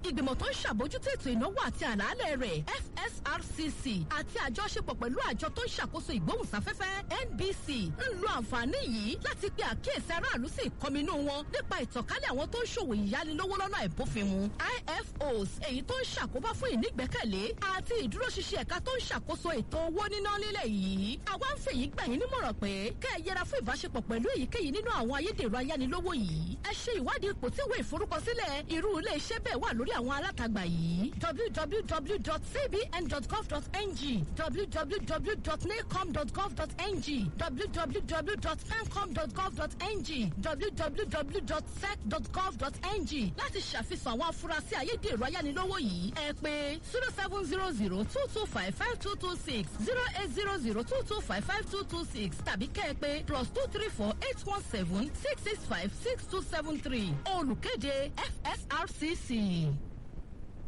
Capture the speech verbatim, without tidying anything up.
Ìgbìmọ̀ tó ń ṣàbójútó ètò ìnáwó àti àlàálẹ̀ rẹ̀ F S R C C àti àjọṣepọ̀ pẹ̀lú àjọ tó ń ṣàkóso ìgbóhùnsáfẹ́fẹ́ N B C ń lo àǹfààní yìí láti pe àkíyèsí aráàlú sí ìkọminú wọn nípa ìtànkálẹ̀ àwọn tó ń ṣòwò ìyánilówó lọ́nà àìbófinmu I F Os, èyí tó ń ṣàkóbá fún ìnígbẹ́kẹ̀lé àti ìdúróṣinṣin ẹ̀ka tó ń ṣàkóso ètò owó níná nílẹ̀ yìí. Àwa ń fèyí gbà yín nímọ̀ràn pé kẹ́ ẹ yẹra fún ìbáṣepọ̀ pẹ̀lú èyíkéyìí nínú àwọn ayédèrú ayánilówó yìí. Ẹ ṣe ìwádìí ipò tí ìwé ìforúkọsílẹ̀ irú ilé iṣẹ́ bẹ́ẹ̀ wà lórí àwọn alátagbà yìí: w w w dot c b n dot gov dot n g, w w w dot nacom dot gov dot n g, w w w dot pencom dot gov dot n g, w w w dot sec dot gov dot n g. Láti ṣàfihàn àwọn afurasí ayédèrú ayánilówó yìí, ẹ pè zero seven zero zero two two five five two two six, zero eight zero zero two two five five two two six, tàbí kẹ́ ẹ pè plus two three four eight one seven six six five six two seven three. Olùkéde, F S R C C.